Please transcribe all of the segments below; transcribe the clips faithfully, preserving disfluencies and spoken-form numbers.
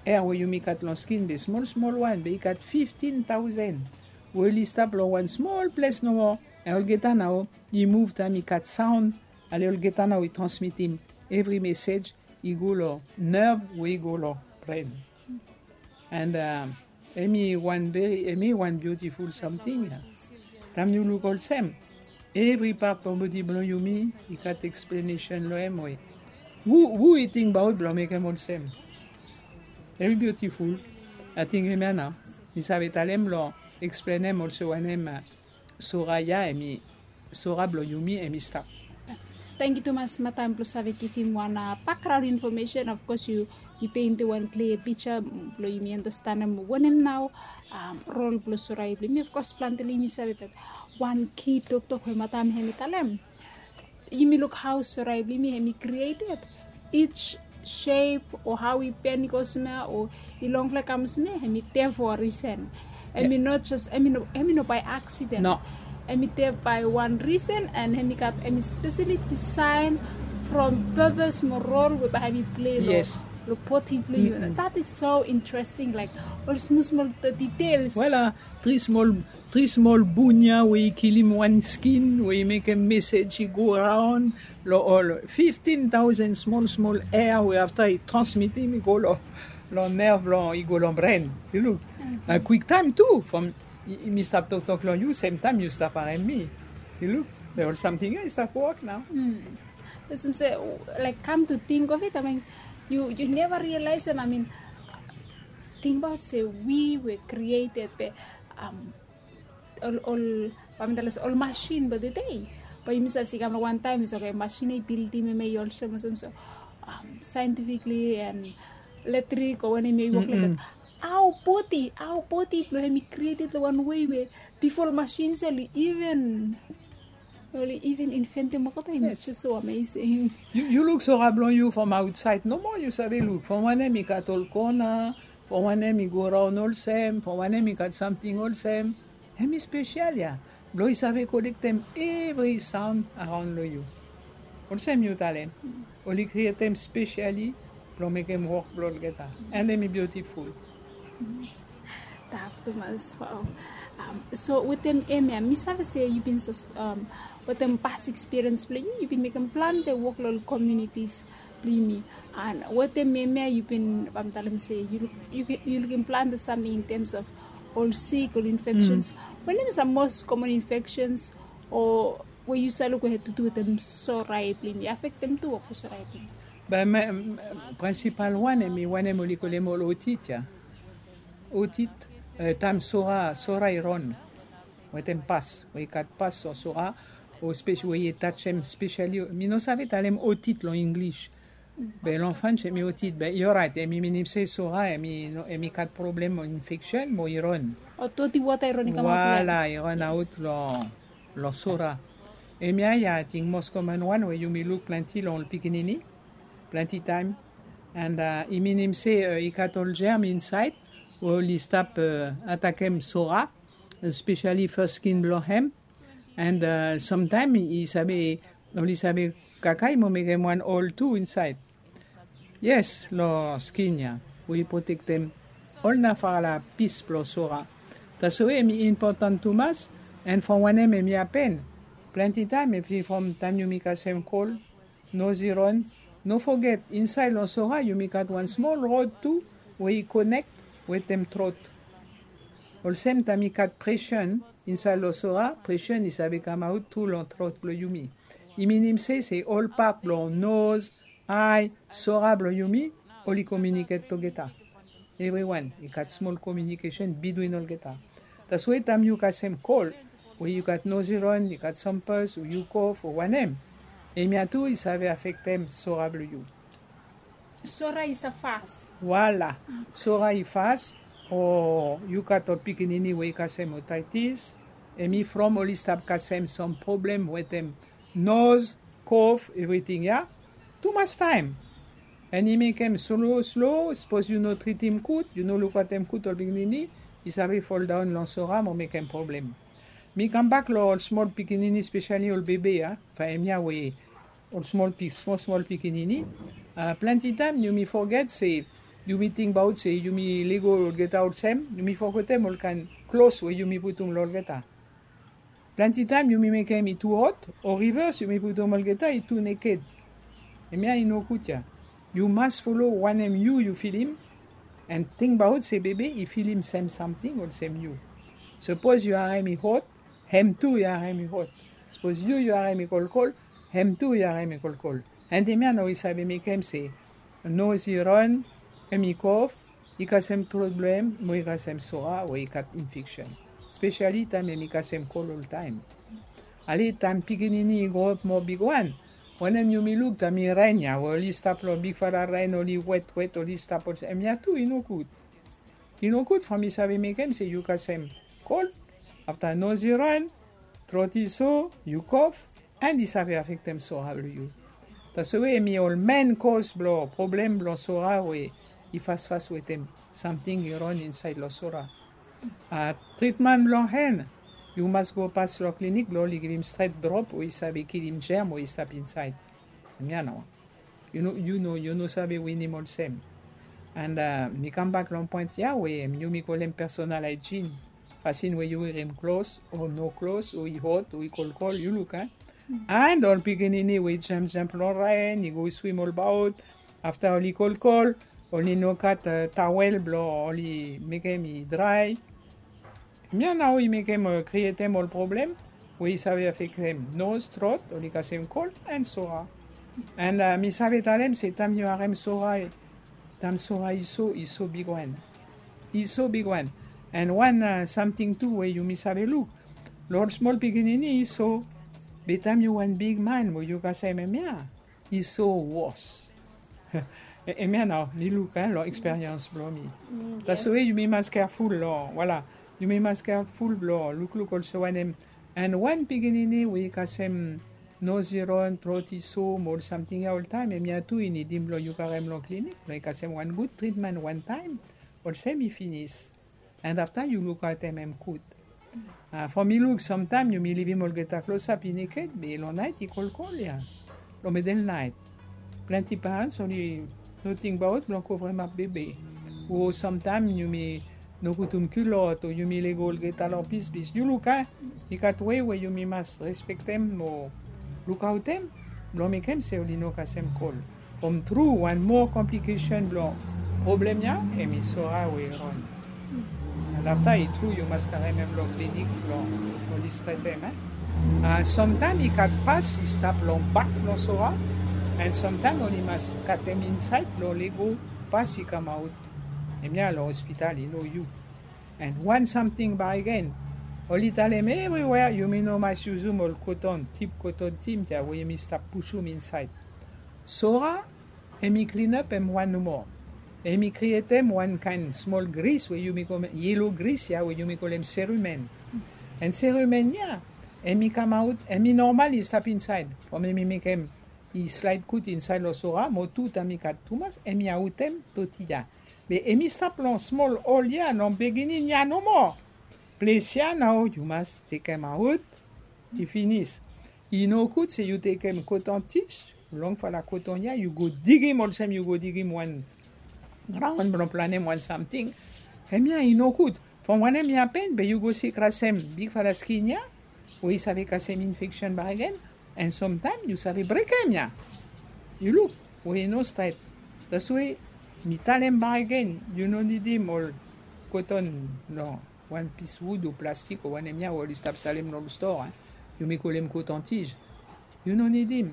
Ea we yumi gat long skin be smol smol wan be i gat fiftin taosen we oli stap long wan smol ples nomo. Olgeta nao i muv taem i gat saon. Ale olgeta nao i transmitim evri mesej i go long nerv we i go long bren. And hemi wan veri hemi wan biutiful samting ya. Taem yu luk olsem evri pat blong bodi blong yumi i gat eksplenesen long hem we hu i tingbaot blong mekem olsem. Hemi biutiful. Ating hemia nao mi save talem long eksplenem olsem wanem sora ya hemi sora blong yumi hemi stap. Tangkiu tumas mataem blong save givim wan bakgraon infomesen. Of kos yu yu peintim wan klia pija blong yumi anastenem wanem nao rol blong sorai blong yumi. Of kos plante long yumi save bat wan ki toktok we mataem hemi talem yumi luk hao sorai blong yumi hemi krieted. Each shape o hao i ben i go smea o i longfala i kam smea hemi de fo risen. Hemi no jes hemi no hemi no bae aksiden. No. Hemi de bae wan risen and hemi gat hemi spesali disaen from pepes mo rol we bae hemi plei long yes. Long bodi blong yu. That is so interesting, like ol smol smol details. Wela tri smol tri smol bun ya we i kilim wan skin we i mekem mesej i go raon long ol fiftin taosen smol smol ea we afta i transmitim i go long nerv blong i go long bren. Yu luk na kwiktaem tu from mi stap toktok long yu semtaem yu stap harem mi. Yu luk be ol samting ya i stap wok nao. Olsem se like kam tu ting of it, I mean yu yu neva rialaesem, I mean tingbaot se wi we krieted be ol ol bae mi talem se ol masin blong tede. Bae yumi save se i kam long wantaem i se oke masin ya i bildim hemia i olsem olsem so saentifikli and letrik o wanem ya i wok long dat. Hao bodi hao bodi blong hem i krieted long wan wei we bifo ol masin ya oli even oli even inventim olgeta. Hem is jes so amesing. Yu luk sora blong yu from aotsaed nomo yu save luk from wanem i gat ol kona from wanem i go raon olsem from wanem i gat samting olsem. Hem i spesial ya blong i save kolektem evri saon araon long yu. Olsem yu talem oli krietem spesiali blong mekem wok blong olgeta. And hem i biutiful. Taf tumas. Wow. So wetem hemia mi save se yu bin wetem pas ekspiriens blong yu yu bin mekem plante wok long ol komunitis blong yumi. And wetem hemia yu bin bae mi talem se yu lukim plante samting in tems of ol sik ol infekshens. Wanem sam mos komon infekshens o we yu save luk we hed tutu wetem sorai blong yumi afektem tu wok blong sorai blong yumi? Be prinsipal wan hemi wanem oli kolem ol otit ya. Otit taem sora sora i ron wetem pas we i gat pas o sora o spes we i tajem spesiali mi no save talem otit long inglis. Be long french hemi otit be i oraet hemi minim se sora hemi gat problem infeksen mo i ron. O doti wota i ron i kamaot long hem. Wala i ron aot long long sora. Hemia ya ating mos koman wan we yumi luk planti long ol pikinini planti taem. And i minim se i gat ol jerm insaed we oli stap atakem sora, spesiali fas skin blong hem. And samtaem i save oli save kakai mo mekem wan ol tu insaed. Yes long skin ya we i protektem ol nafala pis blong sora. Taswe hemi impotan tumas. And from wanem hemi hapen planti taem efi from taem yumi kasem kol, noz i ron. No foget insaed long sora yumi gat wan smol rod tu we i konek wetem trot. Olsem taem i gat presen insaed long sora presen i save kamaot tu long trot blong yumi. I minim se se ol pat blong noz, ae sora blong yumi oli komiuniket togeta. Evriwan i gat smol komiunikesen bitwin olgeta. Taswe taem yu kasem kol we yu gat noz i ron i gat sampes o yu kof o wanem, hemia tu i save afektem sora blong yu. Sora i save fas. Wala. Sora i fas o yu gat ol pikinini we i kasem otaitis. Hemi from oli stap kasem sam problem wetem noz, kof evriting ya tumas taem. And i mekem slo slo sapos yu no tritim gud yu no lukaotem gud ol pikinini i save foldaon long sora mo mekem problem. Mi kambak long ol smol pikinini spesiali ol bebe ya from hemia we ol smol smol pikinini. Planti taem yumi foget se Yumi tingbaot se yumi lego olgeta olsem, yumi fogetem ol kaen klos we yumi putum long olgeta. Plante taem yumi mekem i tu hot, o rivers yumi putum olgeta i tu neked. Hemia i nogud ya. Yu mas folem wanem yu yu filim, and tingbaot se bebe i filim sem samting olsem yu. Sapos yu harem i hot, hem tu i harem i hot. Sapos yu yu harem i kolkol, hem tu i harem i kolkol. And hemia nao i save mekem se noz i ran, hem i kof, i kasem trot blong hem mo i kasem sora we i gat infeksen. Spesiali taem hem i kasem kol oltaem. Ale taem pikinini i groap moa bigwan, wanem yumi luk taem i ren ya we oli stap long bigfala ren, oli wetwet, oli stap olsem, hemia tu i nogud. I nogud from i save mekem se yu kasem kol, afta noz i ran, trot i so, yu kof, and i save afektem sora blong yu. Taswe hemi ol men kos blong problem blong sora we i fasfas wetem samting i ran insaed long sora. A, tritman blong hem, yu mas go pas long klinik blong oli givim stret drop we i save kilim jerm we i stap insaed. Hemia nao. Yu no, yu no, yu no save winim olsem. And a, mi kambak long poen ya we yumi kolem personal hygiene. Fasin we yu werim klos, o no klos, o i hot, o i kolkol, yu luk, a. And ol pikinini we i jamjam long ren, i go swim olbaot, afta oli kolkol, oli no gat, a, tawel blong oli mekem i drae. Hemia nao i mekem, a, krietem ol problem we i save afektem noz, trot, oli kasem kol, and sora. And, a, mi save talem se taem yu harem sora, taem sora i so, i so bigwan. I so bigwan. And wan, a, samting tu we yumi save luk. Long ol smol pikinini i so, be taem yu wan bigman we yu kasem hemia, i so wos. Hemia nao mi luk, a, long eksperians blong mi. Taswe yumi mas keaful long, voilà. Yumi mas keaful blong lukluk olsem wanem. And wan pikinini we i kasem noz i ran, trot i so, mo ol samting ya oltaem, hemia tu i nidim blong yu karem long klinik blong i kasem wan gud tritman wantaem, olsem i finis. And afta yu lukaotem hem gud. A, from mi luk samtaem yumi livim olgeta klosap i neked, be long naet i kolkol ya. Long middle night. Plante parents oli no tingbaot blong kovremap bebe. O samtaem yumi no putum kulot, o yumi lego olgeta long pispis. Yu luk, a, i gat wei we yumi mas respektem mo lukaotem blong mekem se oli no kasem kol. From tru, wan moa komplikesen blong problem ya, hemi sora we i ran. And afta i tru yu mas karem hem long klinik blong oli stretem, e. A, samtaem i gat pas i stap long bak blong sora, and samtaem oli mas katem insaed blong lego pas i kamaot. Hemia long hospital i no yu. And wan samting bakegen, oli talem evriwea yumi no mas yusum ol koton, tip koton tins ya we yumi stap pusum insaed. Sora, hemi klinap hem wan nomo. Hemi krietem wan kaen smol gris we yumi kolem, yelo gris ya we yumi kolem serumen. And serumen ya, hemi kamaot, hemi normal i stap insaed. From hemi mekem i slaed gud insaed long sora, mo tu taem i gat tumas, hemi aotem toti ya. Be hemi stap long smol ol ya, long biginin ya nomo. Ples ya nao yu mas tekemaot, i finis. I nogud se yu tekem koton tis, longfala koton ya, yu go digim olsem yu go digim wan graon blong planem wan samting. Hemia i nogud. From wanem i hapen, be yu go sikrasem bigfala skin ya, we i save kasem infeksen bakegen, and samtaem yu save brekem ya. Yu luk, we i no stret. Taswe mi talem bakegen, yu no nidim ol koton, no, wan pis wud o plastik o wanem ya we oli stap salem long stoa, e. Yumi kolem koton tis. Yu no nidim.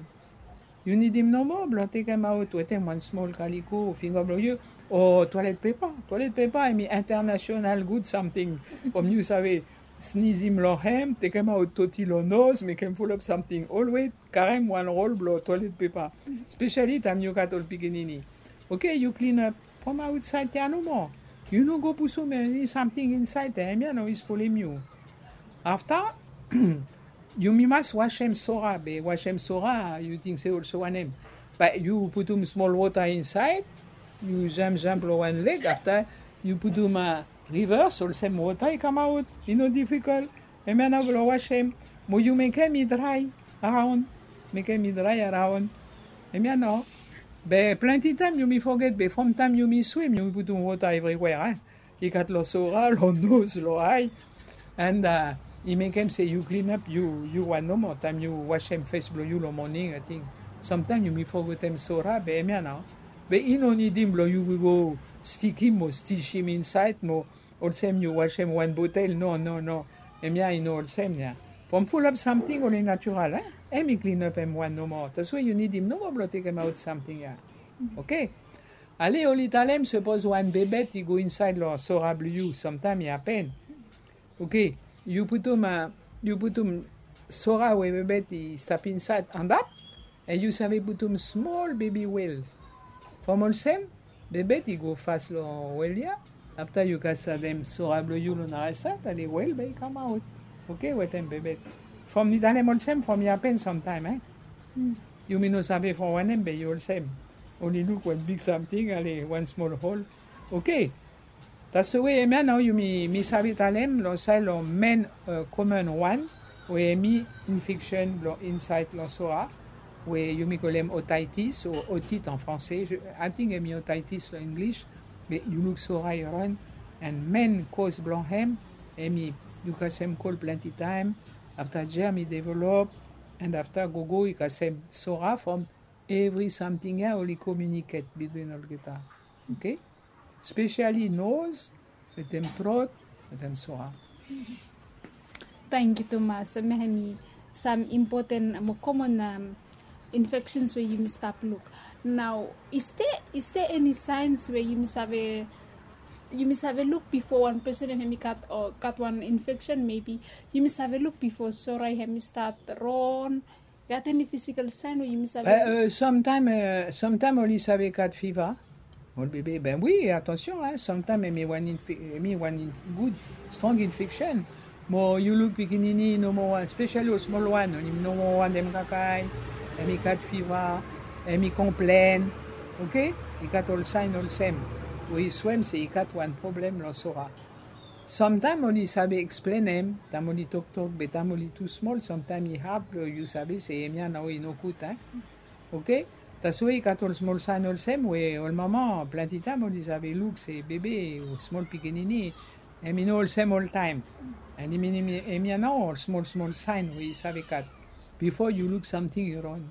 Yu nidim nomo blong tekemaot wetem wan smol kaliko o finga blong yu, o toilet paper. Toilet paper hemi international gud samting. From yu save snizim long hem, tekemaot toti long noz, mekem fulap samting. Always karem wan rol blong toilet paper. Spesiali taem yu gat ol pikinini. Oke, yu klinap from aotsaed ya nomo. Yu no go pusum eni samting insaed, e, hemia no i spolem yu. Afta, yumi mas wasem sora, be wasem sora, yu ting se olsem wanem? Be yu putum smol wota insaed, yu jamjam long wan leg, afta yu putum, a, rivers, olsem wota i kamaot, i no difikol. Hemia nao blong wasem, mo yu mekem i drae araon, mekem i drae araon. Hemia nao. Be plante taem yumi foget, be from taem yumi swim yumi putum wota evriwea, i gat long sora, long nos, long ae. And i mekem se yu klinap yu wan nomo taem yu wasem fes blong yu long moning ating. Samtaem yumi fogetem sora be hemia nao. Be i no nidim blong yu go stikim o stisim insaed mo olsem yu wasem wan botel. No no no. Hemia i no olsem ya. From fulap samting oli natural, hem i klinap hem wan nomo. Taswe yu nidim nomo blong tekemaot samting ya. Oke. Ale oli talem sapos wan bebet i go insaed long sora blong yu, samtaem i hapen. Oke. Yu putum yu putum sora we bebet i stap insaed antap, and yu save putum smol bebi wel. From olsem bebet i go fas long wel ya. Afta yu gat sadem sora blong yu long narasaed, ale wel bae i kamaot. Oke, wetem bebet. From mi talem olsem from i hapen samtaem e. Yumi no save from wanem be i olsem. Oli luk wan big samting ale wan smol hol. Oke. Taswe hemia nao yumi mi save talem long saed long men, komen wan we hemi infeksen blong insaed long sora, we yumi kolem otitis o otit an franse. Ating hemi otitis long inglis. Be yu luk sora i ran, and men koz blong hem hemi yu kasem kol plante taem. Afta jerm i develop, and afta gogo i kasem sora from evri samting ya oli komiuniket bitwin olgeta. Oke. Spesiali nos, wetem trot, wetem sora. Tangkiu tumas. Hemia hemi sam impoten mo komon infeksens we yumi stap luk. Nao is de is de eni saens we yumi save yumi save luk bifo wan pesen hemi gat o gat wan infeksen mebi yumi save luk bifo sora hemi stat ron? Gat eni fisikal saen we yumi save luk? Samtaem samtaem oli save gat fiva. Ol bebe ben wi atansion, samtaem hemi wan gud strong infeksen. Mo yu luk pikinini i no moa wan spesiali ol smol wan oli no moa wan dem kakae, hemi gat fiva, hemi konplen. Oke. I gat ol saen olsem we i swem se i gat wan problem long sora. Samtaem oli save eksplenem taem oli toktok be taem oli tu smol samtaem i had blong yu save se hemia nao i no gud a. Oke. Taswe i gat ol smol saen olsem we ol mama plante taem oli save luk se bebe o smol pikinini hemi no olsem oltaem. And i minim hemia nao ol smol smol saen we i save gat bifo yu luk samting i ron.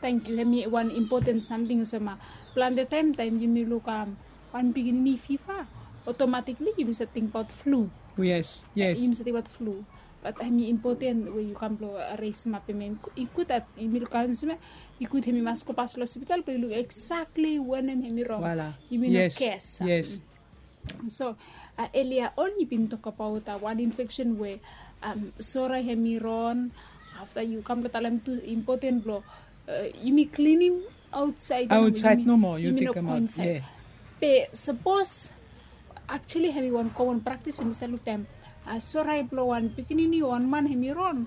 Tangkiu. Hemi wan impoten samting olsem a plante taem taem yumi luk wan pikinini fiva, otomatikli yumi save tingbaot flu. Yes. Yumi save tingbaot flu. Bat hemi impoten we yu kam blong resemap hemia. I gud dat yumi luk olsem ya. I gud hemi mas gopas long hospital blong yu luk eksakli wanem hemi rong. Yumi no kes. So elia on yu bin tokbaot wan infeksen we sora hemi ron. Afta yu kam blong talem tu impoten blong yumi klinim aotsaed. Aotsaed nomo yu tekemaot. Be sapos aktuali hemi wan komon praktis we mi save luk taem sora blong wan pikinini o wan man hemi ron,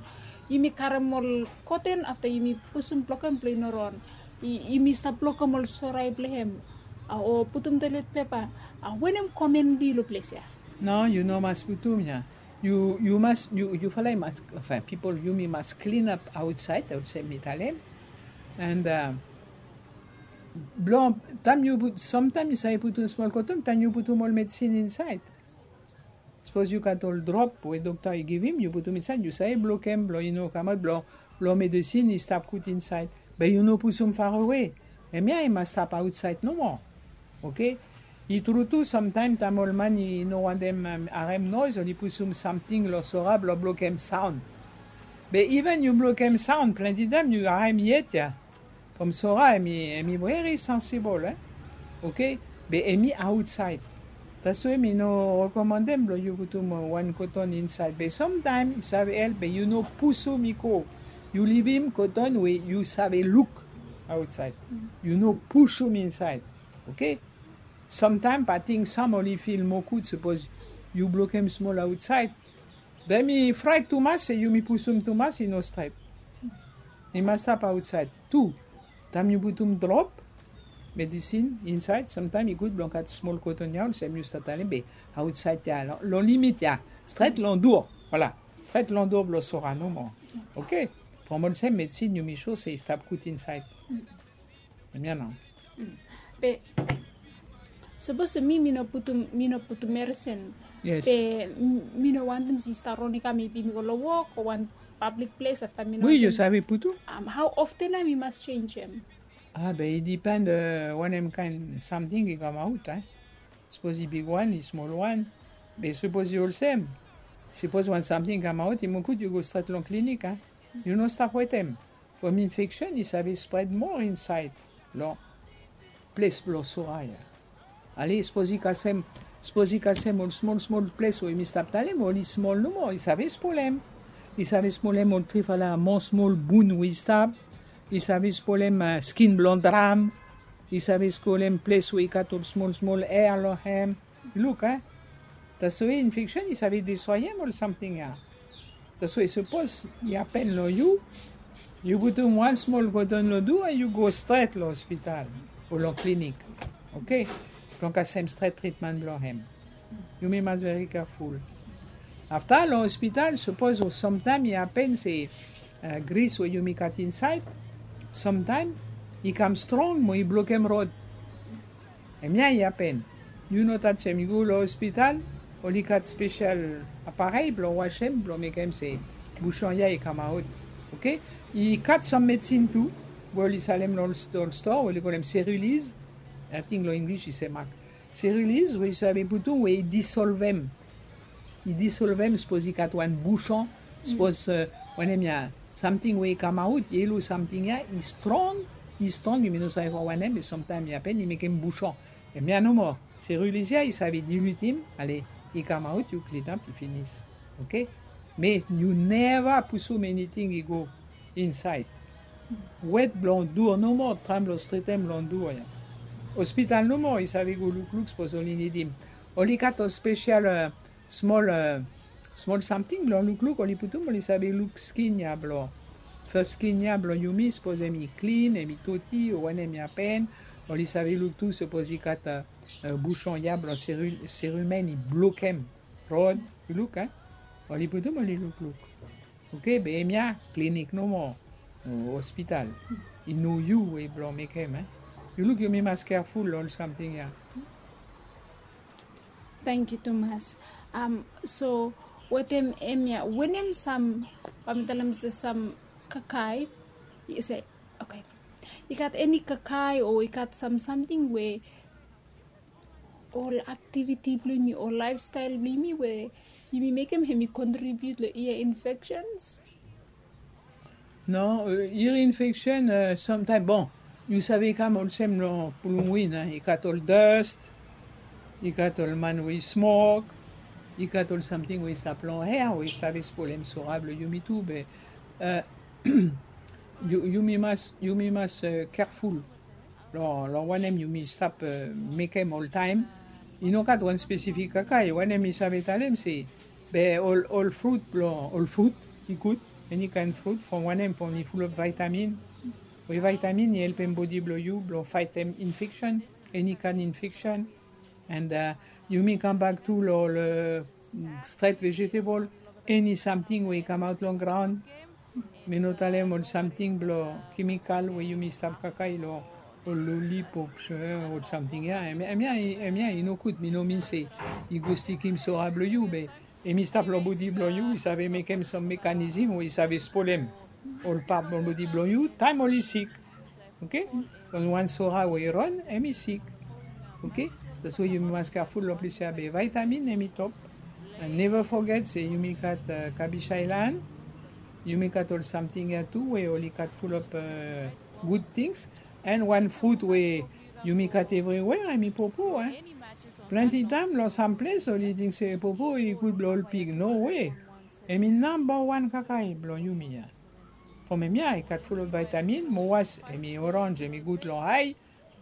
yumi karem ol koten afta yumi pusum blokem blong i no ron. Yumi stap blokem ol sora blong hem o putum toelet pepa. Wanem komen blong yu long ples ya? No, yu no mas putum ya. Yu yu mas yu yu fala i mas, enfin pipol yumi mas klinap aotsaed olsem mi talem. And blong taem yu put samtaem yu save putum smol koton taem yu putum ol medisin insaed. Sapos yu gat ol drop we dokta i givim yu putum insaed yu save blokem blong i no kamaot blong blong medisin i stap gud insaed. Be yu no pusum farawe. Hemia i mas stap aotsaed nomo. Oke. I tru tu samtaem taem ol man i no wantem harem noes oli pusum samting long sora blong blokem saon. Be iven yu blokem saon plante taem yu harem yet ya. From sora hemi hemi veri sansibol e. Oke. Be hemi aotsaed. Taswe mi no rekomandem blong yu putum wan koton insaed be samtaem i save help be yu no pusum i go. Yu livim koton we yu save luk aotsaed. Yu no pusum insaed. Oke. Samtaem ating sam oli fil moa gud sapos yu blokem smol aotsaed. Be mi fraet tumas se yumi pusum tumas i no stret. I mas stap aotsaed tu. Taem yu putum drop medisin insaed samtaem i gud blong gat smol koton ya olsem yu stap talem be aotsaed ya long limit ya. Stret long dur. Voila. Stret long dur blong sora nomo. Oke. From olsem medisin yumi sua se i stap gud insaed. Hemia nao. Be sapos mi, mi no putum, mi no putum meresen. Yes. Be mi no wantem se i stap ron i kam, maybe mi go long wok o wan pablik ples afta mi no. We yu save putum? Hao often nao mi mas jenis hem? A, be i dipen wanem kaen samting i kamaot, a. Sapos i bigwan, i smolwan. Be sapos i olsem, sapos wan samting i kamaot, i moa gud yu go stret long klinik, a. Yu no stap wetem. From infeksen i save spred moa insaed long ples blong sora ya. Ale, sapos i kasem, sapos i kasem ol smol smol ples we mi stap talem, oli smol nomo, i save spolem. I save spolem ol trifala moa smol bun we i stap. I save spolem skin blong dram. I save spolem ples we i gat ol smol smol er long hem. Luk, a. Taswe infeksen i save destroyem ol samting ya. Taswe sapos i hapen long yu, yu putum wan smol koton long dua, yu go stret long ospital o long klinik. Oke? Blong kasem stret tritmen blong hem. Yumi mas veri keaful. Afta long ospital, sapos o samtaem i hapen se gris we yumi gat insaed, samtaem i kam strong mo i blokem rod. Hemia i hapen. Yu no tajem, yu go long ospital, oli gat spesel aparei blong wasem, blong mekem se buson ya i kamaot. Oke? I gat sam medisin tu we oli salem long ol stoa, oli kolem Cerilize. Ating long Inglis i Semak. Cerilize we yu save putum we i disolvem. I disolvem sapos i gat wan buson, sapos wanem ya, samting we i kamaot, yelo samting ya i strong, i strong, yumi no save from wanem, be samtaem i hapen i mekem buson. Hemia nomo, Cerilize ya i save dilutem, ale, i kamaot, yu klinap, i finis. Oke? Me yu neva pusum eniting i go insaed. Wet blong dua nomo, taem blong stretem long dua ya. Ospital nomo i save go lukluk sapos oli nidim. Oli gat ol spesel smol, smol samting blong lukluk oli putum, oli save luk skin ya blong, fes skin ya blong yumi, sapos hemi klin, hemi toti o wanem i hapen. Oli save luk tu sapos i gat buson ya blong seru-, serumen i blokem rod. Yu luk, a? Oli putum, oli lukluk. Oke, be hemia klinik nomo, o ospital. I no yu we blong mekem, a? Yu luk, yumi mas keaful long ol samting ya. Tangkiu tumas. So wetem hemia, wanem sam, bae mi talem se sam kakae, i se, oke, i gat eni kakae o i gat sam samting we ol aktiviti blong yumi o laefstael blong yumi we yumi mekem hemi kontribiut long ear infections? No, ear infection samtaem, bon, yu save kam olsem long pulum win, a, i gat ol dust, i gat ol man we i smok, i gat ol samting we i stap long hea we i save spolem sora blong yumi tu, be yumi mas, yumi mas keaful long, long wanem yumi stap mekem oltaem. I no gat wan spesifik kakae, wanem mi save talem se, be ol, ol frut blong, ol frut i gud, eni kaen frut, from wanem, from i fulap vaetamin. We vaetamin i helpem bodi blong yu blong faetem infeksen, eni kaen infeksen. And yumi kambak tu long ol stret vegetable, eni samting we i kamaot long graon. Mi no talem ol samting blong kemikal we yumi stap kakae long ol lolipops, ol samting ya. Hemia, hemia i no gud, mi no min se i go stikim sora blong yu, be hemi stap long bodi blong yu, i save mekem sam mekanism we i save spolem ol pat blong bodi blong yu taem oli sik. Oke? From wan sora we i ron, hemi sik. Oke? Taswe yumi mas keaful long ples ya, be vaetamin hemi top. And neva foget se yumi gat kabis aelan. Yumi gat ol samting ya tu we oli gat fulap gud tings. And wan frut we yumi gat evriwea, hemi popo, a. Plante taem long sam ples oli ting se popo i gud blong ol pig. No we. Hemi namba wan kakae blong yumi ya. From hemia i gat fulap vaetamin, mo was hemi oranj, hemi gud long ae.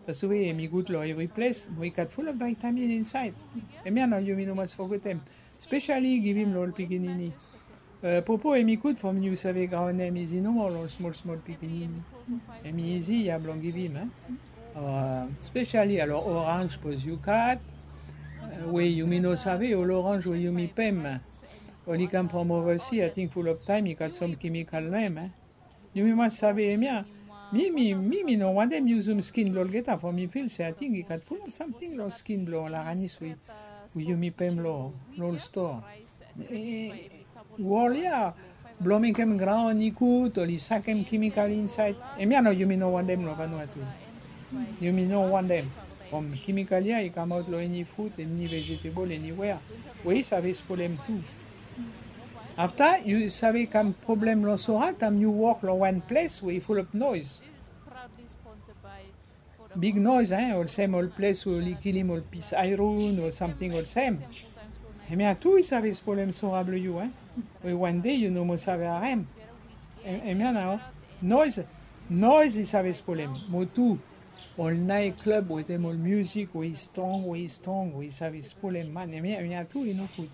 Taswe hemi gud long evri ples, mo i gat fulap vaetamin insaed. Hemia nao yumi no mas fogetem. Spesali givim long ol pikinini. Popo hemi gud from yu save graonem izi nomo long smol smol pikinini. Hemi izi ya blong givim, a. Spesali alor oranj, sapos yu gat, we yumi no save, ol oranj we yumi pem, oli kam from ovasi, ating fulap taem i gat sam kemikal long hem, a. Yumi mas save hemia. Mi, mi, mi, mi no wantem yusum skin blong olgeta from mi fil se ating i gat fulap samting long skin blong ol aranis we, we yumi pem long, long ol stoa. Wol ya blong mekem graon i gud oli sakem kemikal insaed. Hemia nao yumi no wantem long Vanuatu. Yumi no wantem. From kemikal ya i kamaot long eni fut, eni vejetebol, eniwea we i save spolem tu. Afta yu save kam problem long sora taem yu wok long wan ples we i fulap noes. Big noes, eh, olsem ol ples we oli kilim ol pis aeron o samting olsem. Hemia tu i save spolem sora blong yu, eh. We wan dei yu no moa save harem. Hemia nao noes, noes i save spolem. Mo tu ol naet klab wetem ol miusik we i strong, we i strong, we i save spolem man. Hemia, hemia tu i no gud.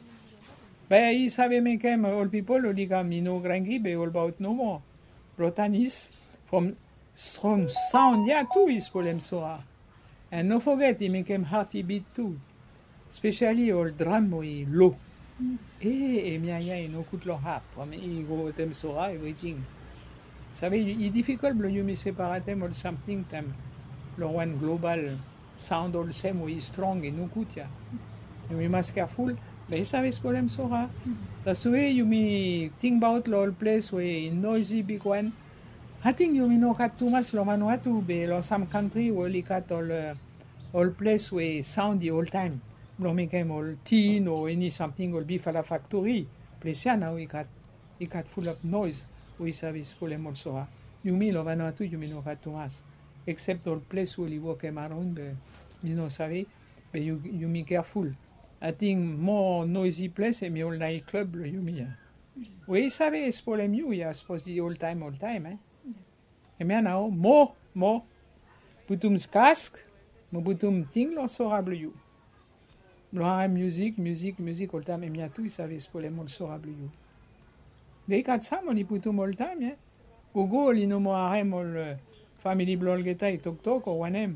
Be i save mekem ol pipol oli kam i no granki be olbaot nomo. Blong tanis from strong saon ya tu i spolem sora. An no foget i mekem hat i bit tu. Spesiali ol dram we i lo. E, hemia ya i no gud long hat from i go wetem sora, evriting. Save i difikol blong yumi separatem ol samting taem long wan global saon olsem we i strong i no gud ya. Yumi mas keaful, be i save spolem sora. Taswe yumi tingbaot long ol ples we i noesi bigwan. Ating yumi no gat tumas long Vanuatu be long sam kantri we oli gat ol, eh, ol ples we saon i oltaem blong mekem ol tin o eni samting, ol bigfala faktori. Ples ya nao i gat, i gat fulap noes we i save spolem ol sora. Yumi long Vanuatu yumi no gat tumas. Eksep ol ples we oli wokem araon be mi no save, be yu, yumi keaful. Ating moa noesi ples hemi ol naet klab blong yumi ya. We i save spolem yu ya sapos i oltaem, oltaem, eh. Hemia nao moa, moa putum kask, mo putum ting long sora blong yu. Blong harem miusik, miusik, miusik oltaem, hemia tu i save spolem ol sora blong yu. Be i gat sam oli putum oltaem ya. Gogo oli no moa harem ol, eh, famili blong olgeta i toktok o wanem.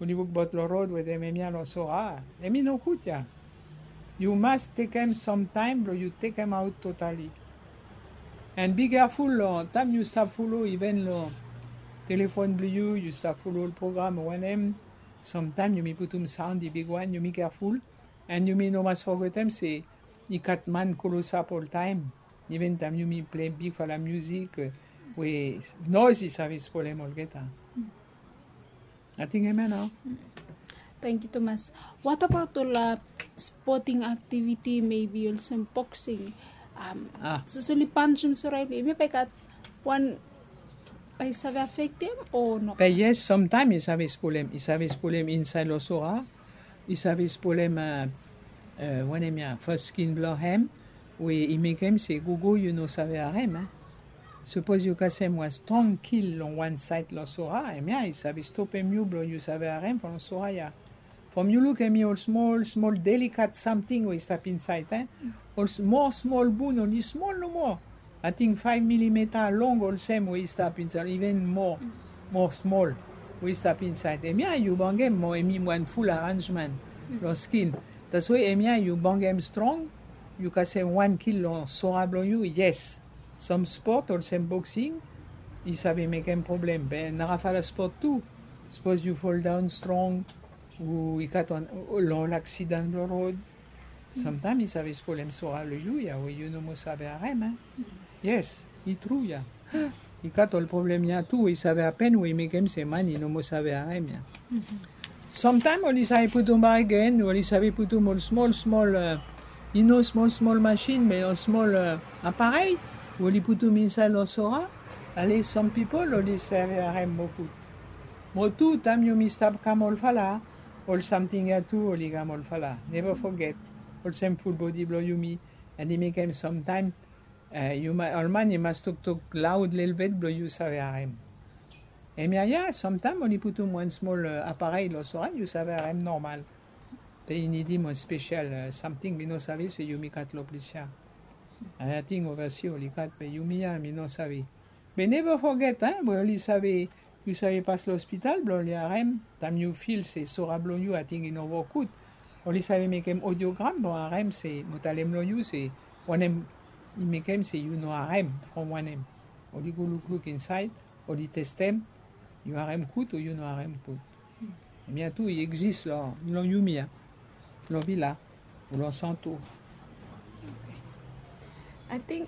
Oli wokbaot long rod wetem hemia long sora. Hemi no gud ya. Yu mas tekem samtaem blong yu tekemaot totali. An bi keaful long taem yu stap folo iven long telefon blong yu, yu stap folo ol program o wanem. Samtaem yumi putum saon i bigwan, yumi keaful. An yumi no mas fogetem se i gat man klosap oltaem. Iven taem yumi plei bigfala miusik, eh, we noes i save spolem olgeta. Ating hemia nao. Tangkiu tumas. What about ol, ah, sporting activity, maybe olsem boxing? Sapos oli pansum sora, hemia bae i gat wan, bae i save afektem o no? Be yes, samtaem i save spolem, i save spolem insaed long sora. I save spolem, ah, wanem ya, fas skin blong hem we i mekem se gogo yu no save harem, eh. Sapos yu kasem wan strong kil long wan saed long sora, hemia i save stopem yu blong yu save harem from sora ya. From yu luk hemi ol smol smol delikat samting we i stap insaed, eh. Ol smol smol bun oli smol nomo. Ating faef milimeta long olsem we i stap insaed, iven moa, moa smol we i stap insaed. Hemia yu bangem mo hemi wan ful aranjman long skin. Taswe hemia yu bangem strong, yu kasem wan kil long sora blong yu, yes. Sam spot olsem boksing i save mekem problem, be narafala spot tu. Sapos yu foldaon strong, o i gat wan, o long ol aksidan blong rod, samtaem i save spolem sora long yu ya we yu no moa save harem, eh. Yes, i tru ya. I gat ol problem ya tu we i save hapen we i mekem se man i no moa save harem ya. Samtaem oli save putum bakegen, oli save putum ol smol smol, eh, i no smol smol masin be ol smol, eh, aparei we oli putum insaed long sora. Ale sam pipol oli save harem moa gud. Mo tu taem yumi stap kam olfala, ol samting ya tu oli kam olfala. Neva foget, olsem fulbodi blong yumi, an i mekem samtaem, eh, yu ma-, ol man i mas toktok laod lelebet blong yu save harem. Hemia ya, samtaem oli putum wan smol, eh, aparei long sora, yu save harem nomal. Be i nidim wan spesel, eh, samting mi no save se yumi gat long ples ya. Ating ovasi oli gat be yumi ya mi no save. Be neva foget, eh, we oli save, yu save pas long ospital blong oli harem, taem yu fil se sora blong yu ating i no wok gud. Oli save mekem odiogram blong harem se, mo talem long yu se, wanem i mekem se yu no harem, from wanem. Oli go lukluk insaed, oli testem, Yu harem kut o yu no harem kut. Hemia tu i egzis long yumi ya, long vila o long santo. Ating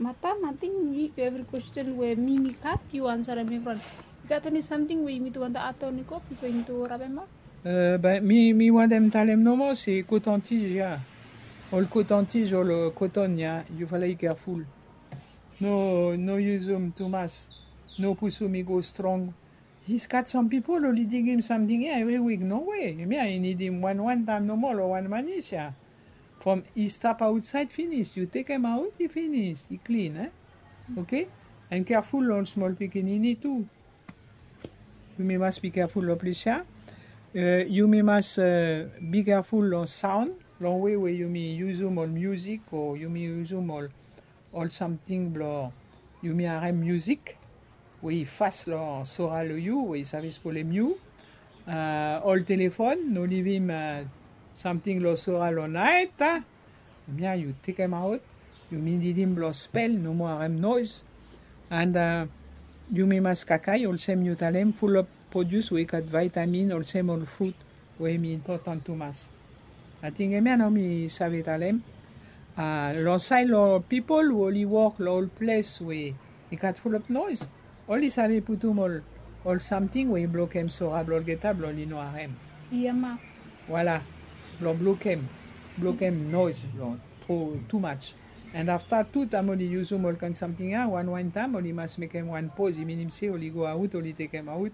matam ating yu evri kwesten we mi mi gat yu ansarem evriwan. Yu gat eni samting we yumi tu wantem aton i go bipo yumi tu rapem ap? Be mi mi wantem talem nomo se kotantij ya, ol kotantij ol koton ya, yu fala i kerful. No no yusum tumas. No pusum i go strong. I gat sam pipol oli digim samting ya evri wik. No we. Hemia i nidim wan wan taem nomo long wan manis ya. From i stap aotsaed finis yu tekem aot i finis i klin e. Oke. An kerful long ol smol pikinini tu. Yumi mas bi kerful long ples ya. Yumi mas bi kerful long saon, long we we yumi yusum ol miusik o yumi yusum ol ol samting blong yumi harem miusik we i fas long sora long yu we i save spolem yu. Ol telefon no livim samting long sora long naet. Hemia yu tekemaot. Yumi nidim blong spel, no moa harem noes. An yumi mas kakae olsem yu talem, fulop produs we i gat vaitamin olsem ol frut we hem i impotan tumas. Ating hemia nao mi save talem. Long saed long pipol we oli wok long ol ples we i gat fulop noes, oli save putum ol ol samting we i blokem sora blong olgeta blong oli no harem. Ia maf. Voila. Blong blokem blokem noes blong tro tumaj. An afta tu taem oli yusum ol kaen samting ya wan wan taem oli mas mekem wan poz, i minim se oli go aot oli tekemaot.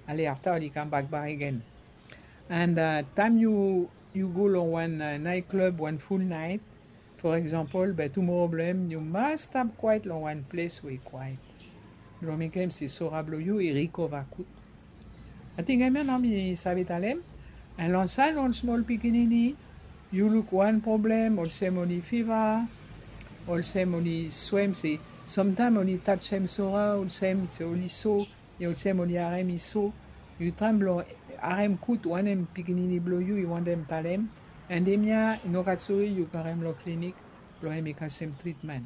Ale afta oli kambak bakegen. An taem yu yu go long wan naet klub wan ful naet, for eksampol be tumoro blong hem yu mas stap kwaet long wan ples we i kwaet blong mekem se sora blong yu i rikova gud. Ating hemia nao mi save talem. An long saed long ol smol pikinini yu luk wan problem olsem oli fiva, olsem oli swem se samtaem oli tajem sora olsem se oli so, olsem oli harem i so. Yu traem blong harem gud wanem pikinini blong yu i wantem talem. An hemia i no gat sori yu karem long klinik blong hem i kasem tritmen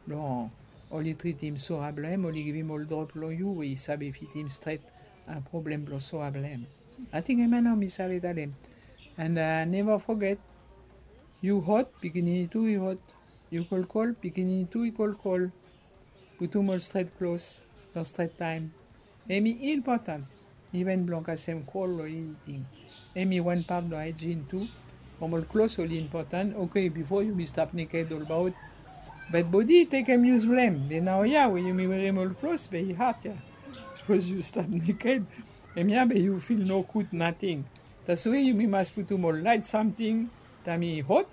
blong oli tritim sora blong hem oli givim ol drop long yu we i save fitim stret problem blong sora blong hem. Ating hemia nao mi save talem. An neva foget, yu hot pikinini tu i hot. Yu kolkol pikinini tu i kolkol. Putum ol stret klos long stret taem. Hem i impotan. Iven blong kasem kol long initing. Hem i wan pat blong aejin tu. From ol klos oli impotan. Oke, bifo yumi stap neked olbaot. Be bodi i tekem yus blong hem. Be naoia we yumi werem ol klos be i had ya. Sapos yu stap neked, hemia be yu fil nogud nating. Taswe yumi mas putum ol laet samting taem i hot,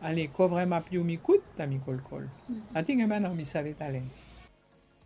ale kovremap yumi gud taem i kolkol. Ating hemia nao mi save talem.